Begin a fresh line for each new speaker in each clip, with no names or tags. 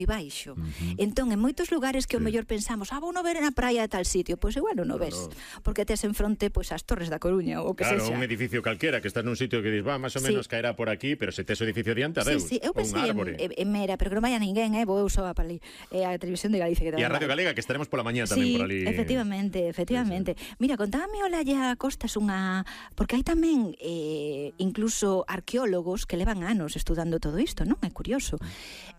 baixo. Entón, en moitos lugares que o mellor pensamos, vou no ver na praia de tal sitio, pois igual non o ves, porque tes en fronte pois as Torres da Coruña ou que sexa.
Claro, un edificio calquera que estás nun sitio que dis, máis ou menos caerá por aquí, pero se tes o edificio diante, adeus.
Sí, eu pensei en Mera, pero que non vaya ninguén, vou eu só para ali. A Televisión de Galicia que
e a Radio Galega, que estaremos pola mañá tamén por ali.
Efectivamente. Mira, contábame Olalla Costas porque hai tamén incluso arqueólogos que levan anos estudando todo isto, non? É curioso.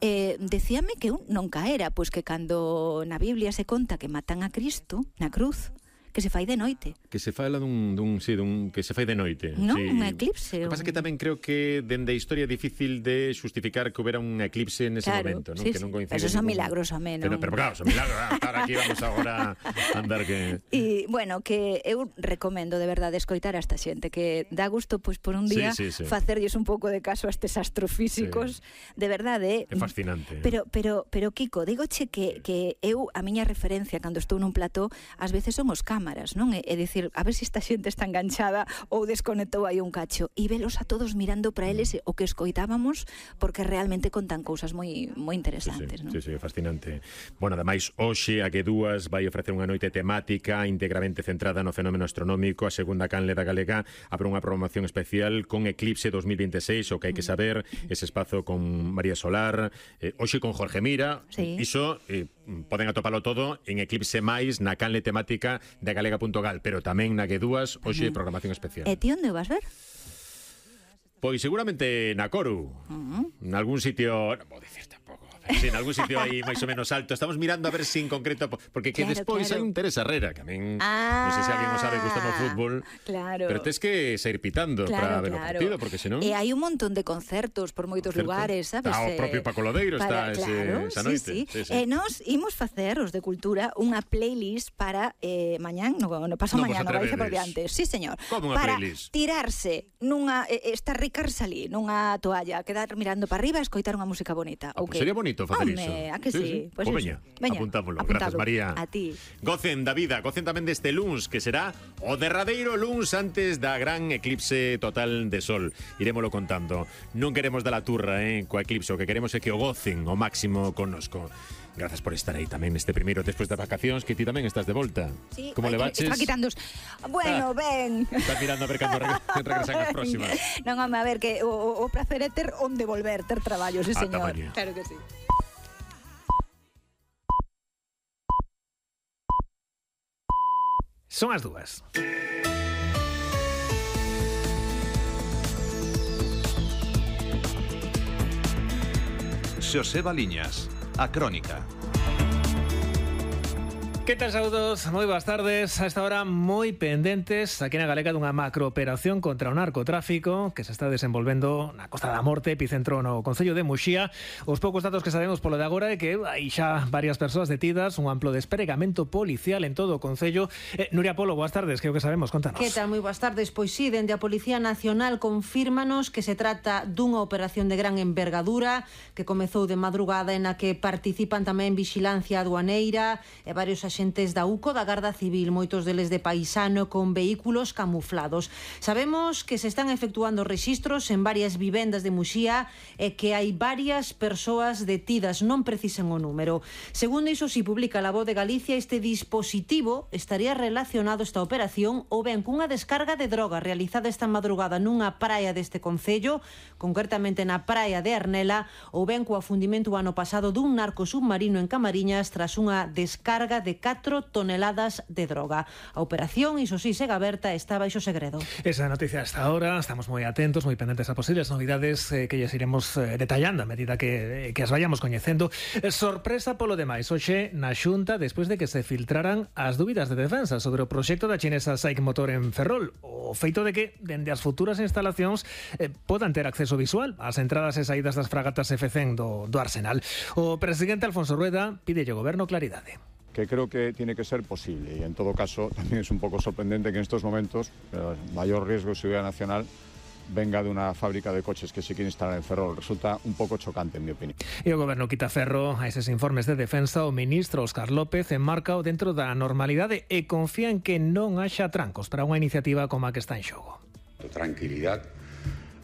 Decíame que non caera, pois que cando na Biblia se conta que matan a Cristo na cruz, que se fai de noite. Que se fala
que se fai de noite.
Non, un eclipse.
O que pasa que tamén creo que dende a historia é difícil de xustificar que houbera un eclipse nese momento, non?
Sí,
que non coincide.
Esos son milagros, home, non?
Pero claro, son milagros. Estar aquí vamos agora a andar que...
E, bueno, que eu recomendo de verdade escoitar a esta xente, que dá gusto, pois, por un día facerlles un pouco de caso a estes astrofísicos. De verdade,
é fascinante.
Pero Kiko, digoche que eu, a miña referencia cando estou nun plató, ás veces son os cámaras, non? É dicir, a ver se esta xente está enganchada ou desconectou aí un cacho, e velos a todos mirando para eles o que escoitábamos, porque realmente contan cousas moi interesantes, non?
Sí, fascinante. Bueno, ademais, hoxe a G2 vai ofrecer unha noite temática íntegramente centrada no fenómeno astronómico. A segunda canle da Galega abre unha programación especial con Eclipse 2026, o que hai que saber, ese espazo con María Solar, hoxe con Jorge Mira. Iso poden atopalo todo en Eclipse máis na canle temática de galega.gal, pero tamén na G2 hoxe programación especial.
E ti onde o vas ver?
Pois seguramente na Coru, nalgún sitio, non vou dicir tampouco, sí, en algún sitio aí máis ou menos alto. Estamos mirando a ver si en concreto, porque que despois hai un Teresa Herrera, que a min non sei se alguén o sabe, gusta no fútbol, pero tes que sair pitando para ver o partido, porque senón...
E hai un montón de concertos por moitos lugares, sabes?
O propio Paco Lodeiro está esa noite.
E nós imos facer, os de Cultura, unha playlist para mañán, no paso mañán, no vai ser por diante. Sí, señor.
Como unha playlist?
Para tirarse nunha, estarricarse ali, nunha toalla, quedar mirando para arriba e escoitar unha música bonita.
Sería bonito facer iso.
A que sí?
Pues veña, apuntámoslo. Gracias, María.
A ti.
Gocen da vida, gocen tamén deste luns, que será o derradeiro luns antes da gran eclipse total de sol. Irémolo contando. Non queremos dar a turra, coa eclipse, o que queremos é que o gocen ao máximo connosco. Gracias por estar aí tamén neste primeiro despois das vacacións, que ti tamén estás de volta.
Sí,
como le baches?
Está quitando bueno, ben.
Estás mirando a ver cando regresan as próximas.
Non, home, a ver, que o placer é ter onde volver, ter traballo, sí, señor. Claro que sí.
Son as dúas.
Xoseba Liñas, a Crónica.
Que tal, saúdos? Moi boas tardes. A esta hora moi pendentes aquí na Galega dunha macrooperación contra o narcotráfico que se está desenvolvendo na Costa da Morte, epicentro no concello de Muxía. Os poucos datos que sabemos polo de agora é que hai xa varias persoas detidas, un amplo despregamento policial en todo o concello. Nuria Polo, boas tardes, que é o que sabemos, contanos.
Que tal? Moi boas tardes. Pois sí, dende a Policía Nacional confírmanos que se trata dunha operación de gran envergadura que comezou de madrugada e na que participan tamén vixilancia aduaneira e varios axentes da UCO, da Garda Civil, moitos deles de paisano con vehículos camuflados. Sabemos que se están efectuando rexistros en varias vivendas de Muxía e que hai varias persoas detidas, non precisan o número. Segundo iso, si publica La Voz de Galicia, este dispositivo estaría relacionado esta operación ou ben cunha descarga de droga realizada esta madrugada nunha praia deste concello, concretamente na praia de Arnela, ou ben co afundimento o ano pasado dun narco submarino en Camariñas tras unha descarga de 4 toneladas de droga. A operación, iso sí, segue aberta e está baixo segredo.
Esa noticia hasta ahora, estamos moi atentos, moi pendentes a posibles novidades que lles iremos detallando a medida que as vayamos coñecendo. Sorpresa polo demais, hoxe na Xunta, despois de que se filtraran as dúbidas de defensa sobre o proxecto da chinesa SAIC Motor en Ferrol, o feito de que, dende as futuras instalacións, podan ter acceso visual ás entradas e saídas das fragatas F-100 do Arsenal. O presidente Alfonso Rueda pide ao goberno claridade.
Que creo que tiene que ser posible, y en todo caso también es un poco sorprendente que en estos momentos el mayor riesgo de seguridad nacional venga de una fábrica de coches que se quiere instalar en Ferrol. Resulta un pouco chocante, en mi opinión.
E o goberno quita ferro a eses informes de defensa. O ministro Óscar López enmarca-o dentro da normalidade e confía en que non haxa trancos para unha iniciativa como a que está en xogo.
Tranquilidad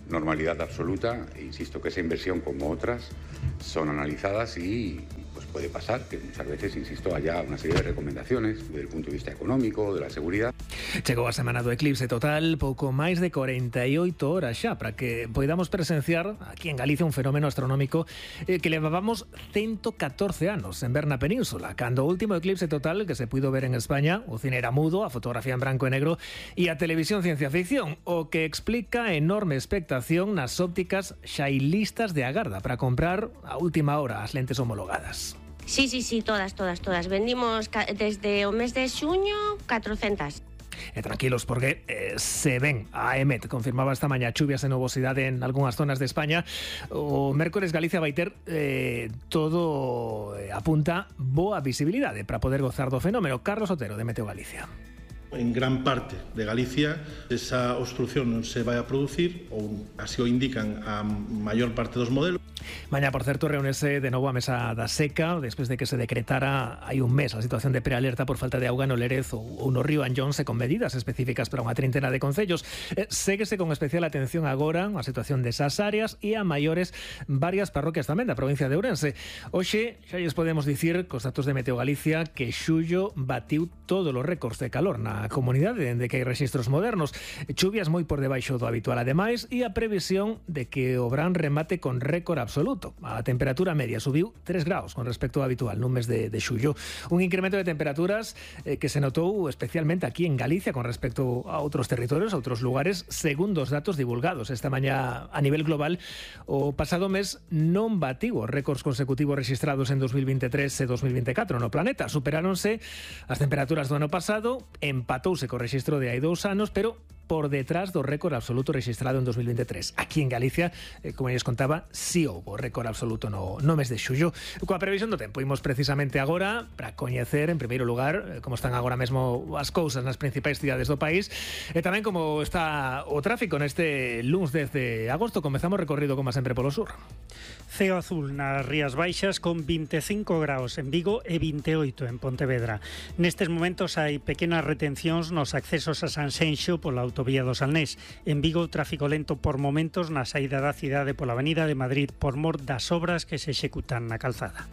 normalidad absoluta. E insisto que esa inversión, como otras, son analizadas y pues puede pasar que muchas veces, insisto, haya una serie de recomendaciones desde el punto de vista económico, de la seguridad.
Chegou a semana do eclipse total, pouco máis de 48 horas xa para que podamos presenciar aquí en Galicia un fenómeno astronómico que levábamos 114 anos en ver na península, cando o último eclipse total que se puido ver en España, o cine era mudo, a fotografía en branco e negro e a televisión ciencia ficción, o que explica a enorme expectación nas ópticas xa hai listas de agarda para comprar a última hora as lentes homologadas.
Sí, todas. Vendimos desde o mes de xuño 400.
E tranquilos, porque se ven a EMET confirmaba esta mañá chuvias e nubosidade en algunhas zonas de España. O mércores Galicia vai ter todo apunta boa visibilidade para poder gozar do fenómeno. Carlos Otero, de Meteo Galicia.
En gran parte de Galicia esa obstrucción non se vai a producir, ou así o indican a maior parte dos modelos.
Mañá, por certo, reúnese de novo a mesa da seca despois de que se decretara hai un mes a situación de prealerta por falta de auga no Lérez ou no río Anllóns e con medidas específicas para unha trintena de concellos. Séguese con especial atención agora a situación desas áreas e a maiores varias parroquias tamén da provincia de Ourense. Hoxe xa lles podemos dicir cos datos de Meteo Galicia que xullo batiu todos os récords de calor na comunidade dende que hai rexistros modernos. Chuvias moi por debaixo do habitual ademais e a previsión de que o verán remate con récord absoluto. A temperatura media subiu 3 graus con respecto ao habitual nun mes de xullo. Un incremento de temperaturas que se notou especialmente aquí en Galicia con respecto a outros territorios, a outros lugares, segundo os datos divulgados esta mañá a nivel global. O pasado mes non batiu os récords consecutivos registrados en 2023 e 2024 no planeta. Superáronse as temperaturas do ano pasado, empatouse co rexistro de hai 2 anos, pero por detrás do récord absoluto registrado en 2023. Aquí en Galicia, como lles contaba, si houbo récord absoluto no mes de xullo. Coa previsión do tempo, imos precisamente agora para coñecer, en primeiro lugar, como están agora mesmo as cousas nas principais cidades do país e tamén como está o tráfico neste luns 10 de agosto. Comezamos recorrido, como sempre, polo sur.
Ceo azul nas Rías Baixas con 25 graus en Vigo e 28 en Pontevedra. Nestes momentos hai pequenas retencións nos accesos a Sanxenxo pola autovía do Salnés. En Vigo, tráfico lento por momentos na saída da cidade pola Avenida de Madrid por mor das obras que se executan na calzada.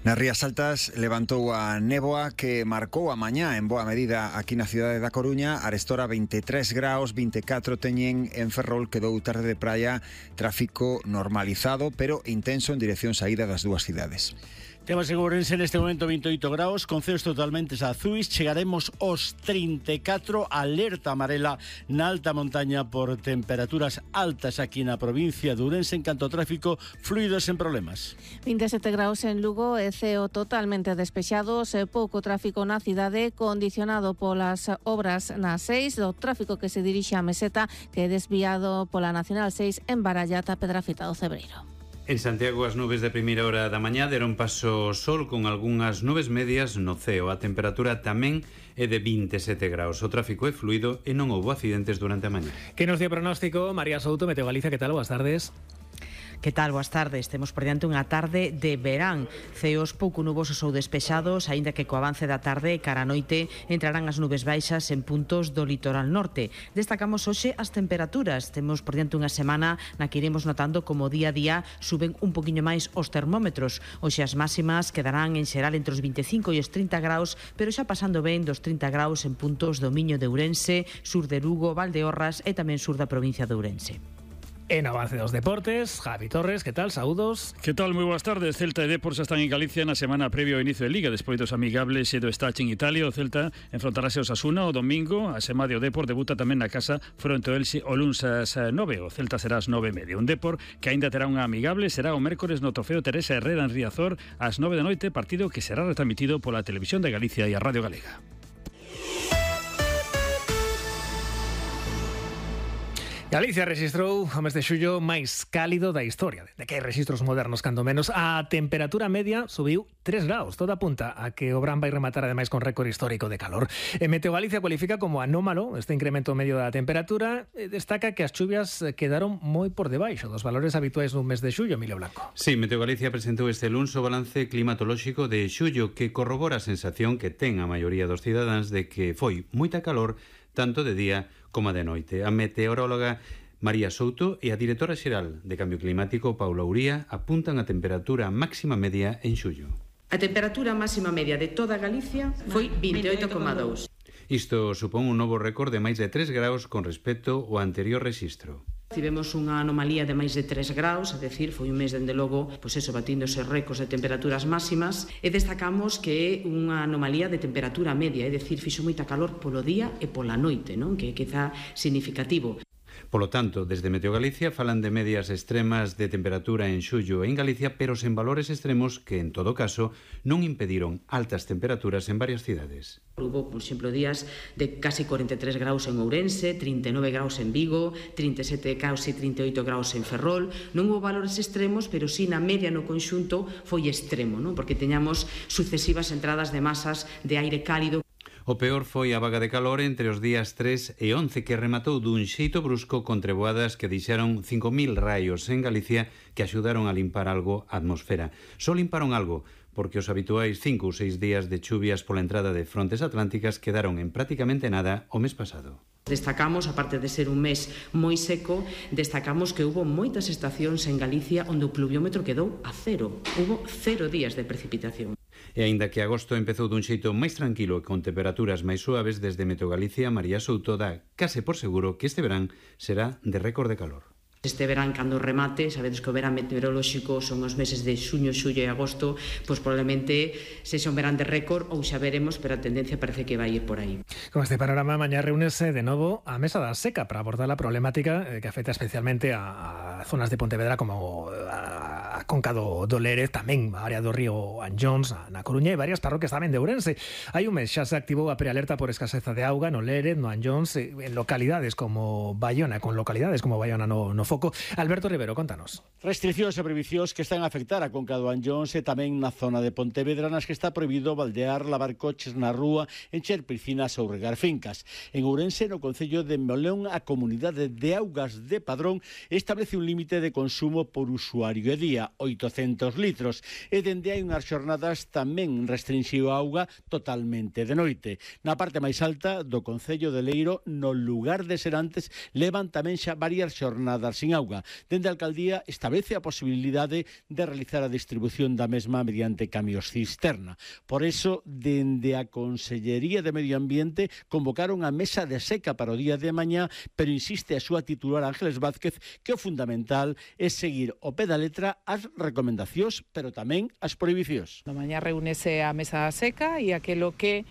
Nas Rías Altas levantou a néboa que marcou a mañá en boa medida aquí na cidade da Coruña. Arestora 23 graus, 24 teñen en Ferrol, quedou tarde de praia, tráfico normalizado pero intenso en dirección saída das dúas cidades.
Temos en Ourense neste momento 28 graus, con ceos totalmente azuis, chegaremos aos 34, alerta amarela na alta montaña por temperaturas altas aquí na provincia de Ourense en canto ao tráfico fluido sen problemas.
27 graus en Lugo e ceo totalmente despexados, pouco tráfico na cidade, condicionado polas obras na 6, do tráfico que se dirixe á Meseta, que é desviado pola Nacional 6 en Barallata, Pedrafita do Cebreiro.
En Santiago as nubes de primeira hora da mañá deron paso ao sol con algunhas nubes medias no ceo. A temperatura tamén é de 27 graus. O tráfico é fluido e non houbo accidentes durante a mañá.
Que nos dio pronóstico María Souto, Meteo Galicia, que tal? Boas tardes.
Que tal? Boas tardes. Temos por diante unha tarde de verán. Ceos pouco nubosos ou despexados, aínda que co avance da tarde e cara a noite entrarán as nubes baixas en puntos do litoral norte. Destacamos hoxe as temperaturas. Temos por diante unha semana na que iremos notando como día a día suben un poquinho máis os termómetros. Hoxe as máximas quedarán en xeral entre os 25 e os 30 graus, pero xa pasando ben dos 30 graus en puntos do Miño de Ourense, sur de Lugo, Valdeorras e tamén sur da provincia de Ourense.
En avance dos deportes, Javi Torres, que tal? Saúdos.
Que tal? Moi boas tardes. Celta e Depor xa están en Galicia na semana previo ao inicio de Liga. Despois dos amigables e do Estache en Italia, o Celta enfrontarase ao Osasuna o domingo. A semana o Depor debuta tamén na casa fronte ao Elxe o luns ás 9. O Celta será ás 9:30. Un Depor que aínda terá unha amigable será o mércores no Trofeo Teresa Herrera en Riazor ás 9 da noite, partido que será retransmitido pola Televisión de Galicia e a Radio Galega.
Galicia registrou o mes de xullo máis cálido da historia, de que hai registros modernos cando menos. A temperatura media subiu 3 graus, toda apunta a que o verán vai rematar ademais con récord histórico de calor. Meteo Galicia cualifica como anómalo este incremento medio da temperatura e destaca que as chuvias quedaron moi por debaixo dos valores habituais dun mes de xullo, Emilio Blanco.
Sí, Meteo Galicia presentou este luns o balance climatolóxico de xullo que corrobora a sensación que ten a maioría dos cidadáns de que foi moita calor tanto de día como de noite. A meteoróloga María Souto e a directora xeral de Cambio Climático, Paula Uría, apuntan a temperatura máxima media en xullo.
A temperatura máxima media de toda Galicia foi 28,2.
Isto supón un novo récord de máis de 3 graus con respecto ao anterior rexistro.
Tivemos unha anomalía de máis de 3 graus, é dicir, foi un mes, dende logo, batíndose récords de temperaturas máximas, e destacamos que é unha anomalía de temperatura media, é dicir, fixo moita calor polo día e pola noite, non? Que é quizá significativo.
Polo tanto, desde Meteo Galicia falan de medias extremas de temperatura en xullo en Galicia, pero sen valores extremos que, en todo caso, non impediron altas temperaturas en varias cidades.
Hubo, por exemplo, días de casi 43 graus en Ourense, 39 graus en Vigo, 37 graus e 38 graus en Ferrol. Non hubo valores extremos, pero sí na media no conxunto foi extremo, non? Porque teñamos sucesivas entradas de masas de aire cálido.
O peor foi a vaga de calor entre os días 3 e 11 que rematou dun xeito brusco con treboadas que deixaron 5.000 raios en Galicia que axudaron a limpar algo a atmosfera. Só limparon algo, porque os habituais 5 ou 6 días de chuvias pola entrada de frontes atlánticas quedaron en prácticamente nada o mes pasado.
Destacamos, aparte de ser un mes moi seco, destacamos que hubo moitas estacións en Galicia onde o pluviómetro quedou a cero. Hubo 0 días de precipitación.
E aínda que agosto empezou dun xeito máis tranquilo e con temperaturas máis suaves, desde Meteo Galicia, María Souto dá case por seguro que este verán será de récord de calor.
Este verán, cando remate, sabedes que o verán meteorolóxico son os meses de xuño, xullo e agosto, pois probablemente sexa un verán de récord ou xa veremos, pero a tendencia parece que vai ir por aí.
Con este panorama, mañá reúnese de novo a Mesa da Seca para abordar la problemática que afecta especialmente a zonas de Pontevedra como a Conca do Lérez, tamén a área do río Anllóns, na Coruña e varias parroquias tamén de Ourense. Hai un mes xa se activou a prealerta por escaseza de auga no Lérez, no Anllóns, en localidades como Bayona, no foco. Alberto Rivero, contanos.
Restriccións e prohibicións que están a afectar a Conca do Anllóns e tamén na zona de Pontevedra, nas que está prohibido baldear, lavar coches na rúa, encher piscinas ou regar fincas. En Ourense, no concello de Moleón, a Comunidade de Augas de Padrón establece un límite de consumo por usuario e día, 800 litros, e dende hai unhas xornadas tamén restrinxiu a auga totalmente de noite. Na parte máis alta do concello de Leiro, no lugar de Serantes, levan tamén xa varias xornadas sin auga. Dende a alcaldía establece a posibilidade de realizar a distribución da mesma mediante camións cisterna. Por eso, dende a Consellería de Medio Ambiente convocaron a mesa de seca para o día de mañá, pero insiste a súa titular Ángeles Vázquez que o fundamental é seguir ao pé da letra as recomendacións, pero tamén as prohibicións.
Na mañá reúnese a mesa da seca e aquelo que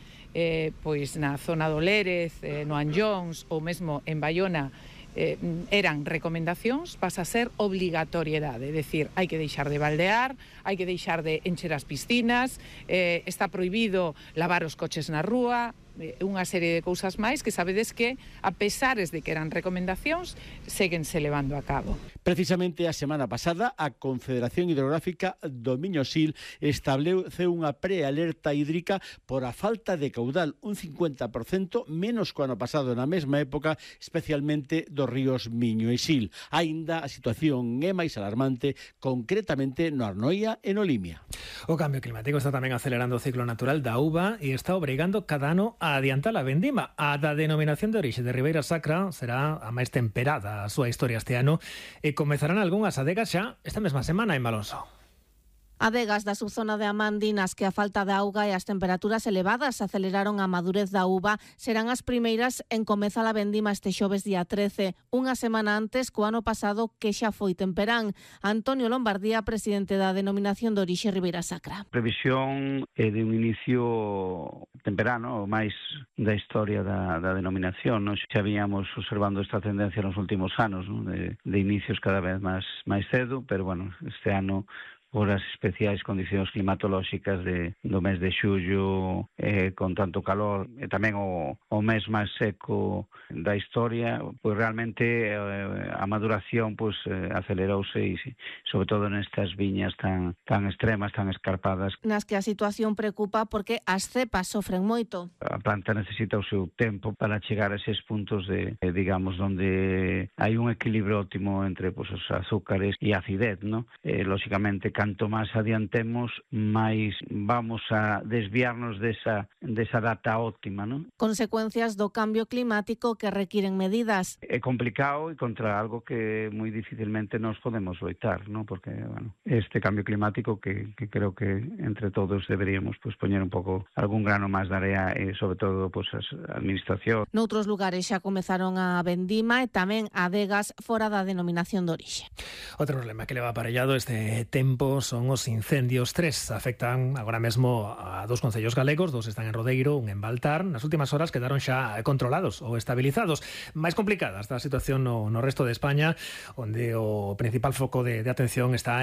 pois na zona do Lérez, no Anllóns ou mesmo en Bayona eran recomendacións, pasa a ser obligatoriedade, é dicir, hai que deixar de baldear, hai que deixar de encher as piscinas, está prohibido lavar os coches na rúa, unha serie de cousas máis que sabedes que, a pesares de que eran recomendacións, séguense levando a cabo.
Precisamente a semana pasada, a Confederación Hidrográfica do Miño-Sil estableceu unha prealerta hídrica por a falta de caudal, un 50% menos que o ano pasado na mesma época, especialmente dos ríos Miño e Sil. Aínda a situación é máis alarmante, concretamente no Arnoia e no Limia.
O cambio climático está tamén acelerando o ciclo natural da uva e está obrigando cada ano a adiantar a vendima. A da denominación de orixe de Ribeira Sacra será a máis temperada a súa historia este ano e comezarán algunhas adegas xa esta mesma semana en Malonso.
Adegas da subzona de Amandi nas que a falta de auga e as temperaturas elevadas aceleraron a madurez da uva serán as primeiras en comezar a vendima este xoves día 13, unha semana antes co ano pasado que xa foi temperán. Antonio Lombardía, presidente da denominación de orixe Ribeira Sacra.
Previsión é de un inicio temperano, máis da historia da denominación. Nos xa víamos observando esta tendencia nos últimos anos, ¿no? de inicios cada vez máis cedo, pero bueno, este ano por as especiais condicións climatolóxicas do mes de xullo, con tanto calor, e tamén o mes máis seco da historia, pois realmente a maduración pois acelerouse e sobre todo nestas viñas tan extremas, tan escarpadas.
Nas que a situación preocupa porque as cepas sofren moito.
A planta necesita o seu tempo para chegar a eses puntos de digamos, onde hai un equilibrio óptimo entre pois, os azúcares e a acidez, ¿no? Lóxicamente, canto máis adiantemos, máis vamos a desviarnos desa data óptima, non?
Consecuencias do cambio climático que requiren medidas.
É complicado e contra algo que moi dificilmente nos podemos loitar, non? Porque, bueno, este cambio climático que creo que entre todos deberíamos pues poñer un pouco algún grano máis de area e sobre todo pues a administración.
Noutros lugares xa comezaron a vendima e tamén adegas fora da denominación de orixe.
Outro problema que leva aparellado este tempo son os incendios. 3 afectan agora mesmo a 2 concellos galegos, 2 están en Rodeiro, un en Baltar. Nas últimas horas quedaron xa controlados ou estabilizados. Máis complicada está a situación no resto de España, onde o principal foco de atención está en